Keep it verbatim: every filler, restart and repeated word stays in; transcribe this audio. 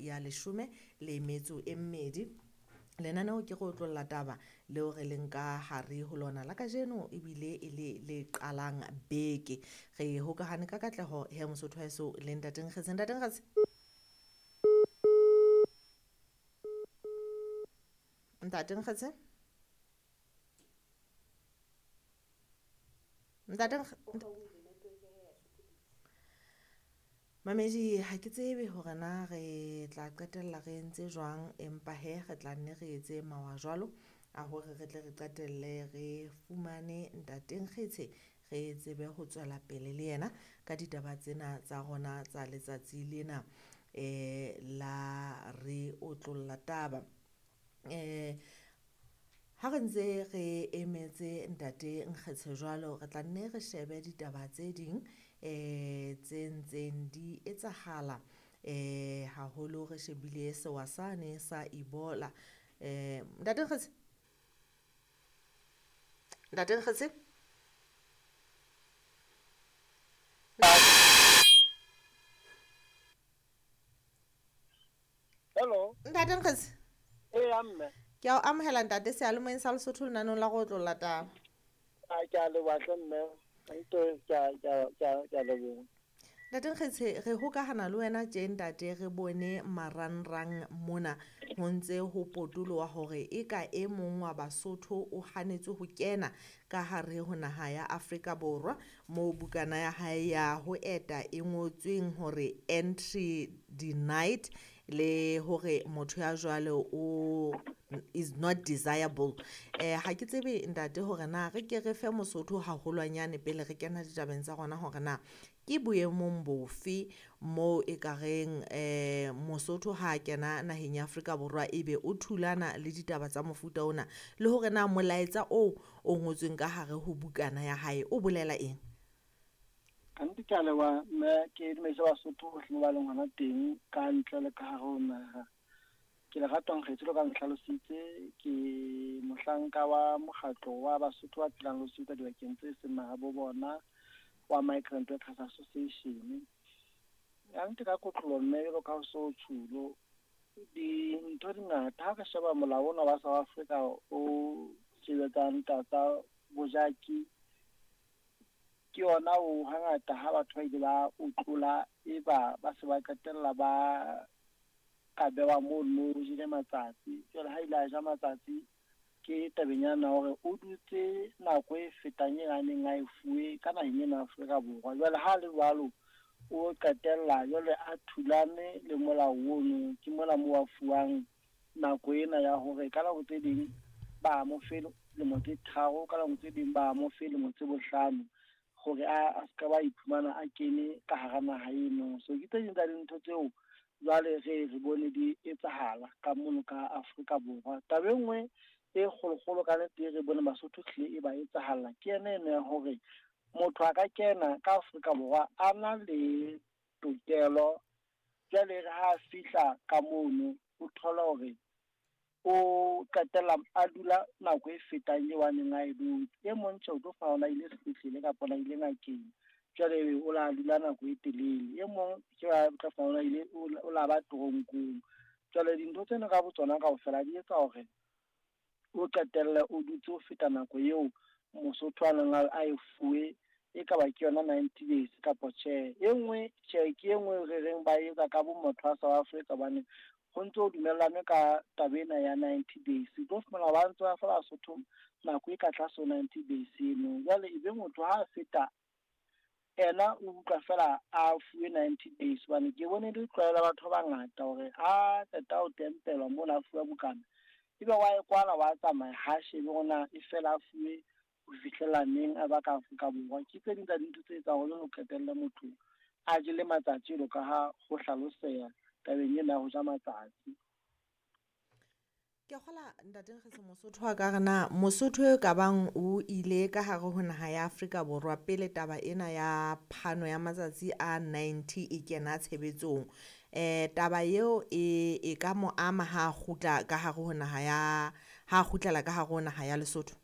ya leshome le metso e mmedi. Lenaneo ke go otlolla taba leo re leng ka hare ho lona la kajeno ebile e le le qalang beke. Re hokahane ka katleho he Mosotho wa heso le ntate Nkgetse. Ntate Nkgetse, ntate Nkgetse, ntate Nkge- Mamedi, ha ke tsebe hore na re tla qetella re entse jwang, empa he re tla nne re etse mawa jwalo a hore re tle re qetelle re fumane ntate Nkgetshe, re tsebe ho tswela pele le yena ka ditaba tsena tsa rona tsa letsatsi lena eh la re otlolla taba. Eh ha re ntse re emetse ntate Nkgetshe jwalo, re tla nne re shebe ditaba tse ding eh tse ntseng di etsahala eh haholo re shebile sewa sane sa Ebola. Eh ntate Nkgetse, ntate Nkgetse, Hello. Ntate Nkgetse, Eya mme. Ke a o amohela ntate seyalemoyeng sa Lesotho lenaneng la go otlolla taba. A ke a leboha hle mme. Nto ke a ke a ke a ke a leboha. Ntate Nkgetshe, re hokahana le wena tje ntate re bone marangrang mona ho ntse ho potoloha hore eka e mong wa Basotho o hanetswe ho kena ka hare ho naha ya Afrika Borwa moo bukana ya hae ya ho eta e ngotsweng hore entry denied le hore motho ya jwalo o is not desirable. Eh ha ke tsebe ntate hore na re ke re fe Mosotho haholwanyane pele re kena ditabeng tsa rona hore na ke boemong bofe moo e ka reng eh Mosotho ha a kena naheng ya Afrika Borwa ebe o thulana le ditaba tsa mofuta ona, le hore na molaetsa oo o ngotsweng ka hare ho bukana ya hae o bolela eng. Kannete ke a leboha mme, ke dumedise Basotho bohle mo ba leng hona teng ka ntle le ka hare ho naha. Ke Lerato Nkgetse jwalo ka nhlalositse, ke mohlanka wa mokgatlo wa Basotho ba phelang le ho sebetsa dibakeng tse seng mahabo bona wa Migrant Workers Association. Kannete ka kotloloho mme jwalo ka ho so tjhulo, dintho di ngata. Ha re sheba molao ona wa South Africa o sebetsang taba tsa bojaki, ke yona o hangata ha batho ba ile ba o tlola, e ba ba se ba qetella ba ka bewa mono, o jele matsatsi. Jwale ha ile a ja matsatsi, ke tabeng yana hore o dutse nako e fetang e a neng a e fuwe ka naheng ena ya Afrika Borwa. Jwale ha le jwalo, o qetella jwale a thulane le molao ono. Ke mona moo a fuwang nako ena ya hore ka nako tse ding ba mo fe lemo tse tharo, ka nako tse ding ba mo fe lemo tse bohlano, hore a a ska ba iphumana a kene ka hara naha eno. So ke tse ding tsa dintho tseo jwale re re bone di etsahala ka mono ka Afrika Borwa. Taba e nngwe e kgolokgolo ka nnete e re bone Basotho hlile e ba etsahalla ke yena eno ya hore motho a ka kena ka Afrika Borwa a na le tokelo, jwale re ha a fihla ka mono o thola hore o qetella a dula nako e fetang eo a neng a e dutse. E mong tjhe o tlo fumana a ile sepetlele kapa a ile ngakeng, jwale o la dula nako e telele. E mong ke ba tla fumana a ile o la ba toronkong. Jwale dintho tsena ka botsona kaofela di etsa hore o qetelle o dutse ho feta nako eo Mosotho a neng a e fuwe, e ka ba ke yona ninety days kapa tjhe. E nngwe tjhe ke e nngwe re reng ba etsa ka bo motho wa South Africa, hobane ho ntso dumellane ka taba ena ya ninety days. O tlo fumana ba ntse ba fa Basotho nako e ka tlase ho ninety days eno. Jwale ebe motho ha a feta ena o utlwa fela a fuwe ninety days, hobane ke bone le tlwaelo ya batho ba bangata hore ha qeta ho tempelwa mona a fuwa bukana, ebe wa e kwala wa tsamaya, ha shebe hore na e fela a fuwe ho fihlela neng a ba ka Afrika Borwa. Ke tse ding tsa dintho tse etsang hore o qetelle motho a jele matsatsi jwalo ka ha ho hlaloseha tabeng ena ya ho ja matsatsi. Ke kgola ntate Nkgetse, Mosotho wa ka re na Mosotho e ka bang o ile ka hare ho naha ya Afrika Borwa pele taba ena ya phano ya matsatsi a ninety e kena tshebetsong. Eh taba eo e e ka mo ama ha kgutla ka hare ho naha ya, ha kgutlela ka hare ho naha ya Lesotho.